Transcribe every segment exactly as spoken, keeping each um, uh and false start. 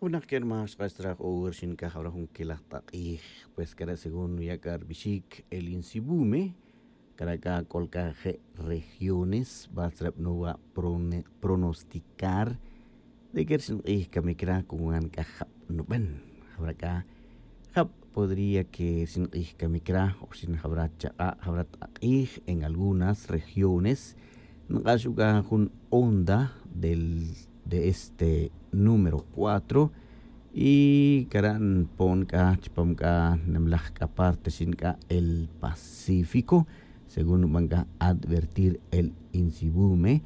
Winak kerma xk'ax tzra' q'o'wer xin k'a jawra jun kelaj t'aq'ij. Pues k'ara' según nuya' k'a rbixic el insibume, k'ara' k'a k'ol k'a je' regiones bal tzra' banowa pronosticar de que rxin q'ij kamic ra' con gan k'a jab' nuben. Jawra k'a jab' podría que rxin q'ij kamic ra' o rxin jawra chak'a' jawra t'aq'ij en algunas regiones. Nq'ax u k'a jun onda del de este número cuatro y k'ara' npon k'a chupam k'a nemlaj k'a parte rxin k'a el pacífico, según nuban k'a advertir el insibume.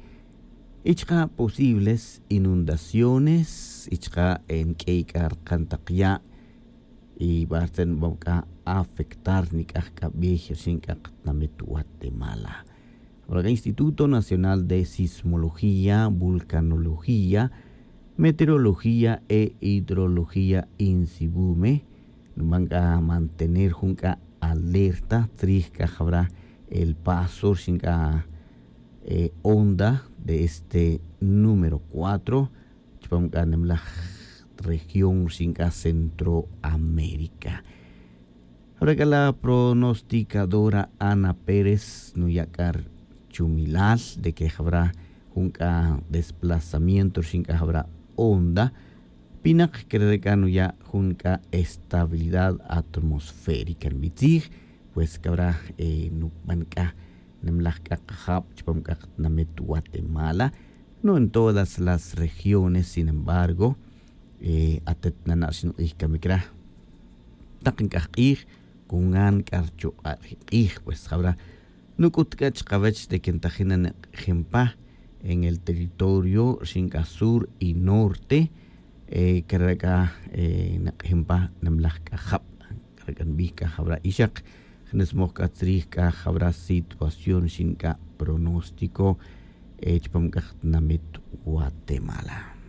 Y chaka' posibles inundaciones y chaka' nk'ey k'a rkan taq ya' y bartzen nuban k'a afectar nik'aj k'a bey rxin k'a qatnamit guatemala. Ahora k'a instituto nacional de sismología, vulcanología, meteorología e hidrología insibume nuban k'a mantener jun k'a alerta tzrij k'a jawra el paso rxin k'a onda de este número cuatro chupam k'a nemlaj región rxin k'a centroamérica. Jawra k'a la pronosticadora ana pérez nuya' k'a rchumilal de que jawra jun k'a desplazamiento rxin k'a jawra onda pinak kere' k'a nuya' jun k'a estabilidad atmosférica nbitzij. Pues kawra nuban k'a nemlaj k'a qajab' chupam k'a qatnamit guatemala, no en todas las regiones sin embargo atet nana' rxin q'ij kamic ra' taq nk'aj q'ij con gan k'a rchuk'a' ri q'ij. Pues jawra nuk'ut k'a chkawech de que ntajin na nek'ejin pa en el territorio rxin k'a sur y norte. Kere' k'a nek'ejin pa nemlaj k'a jab' kere' k'a nbij k'a jawra ixak jnismoj k'a tzrij k'a jawra situación rxin k'a pronóstico chupam k'a qatnamit guatemala.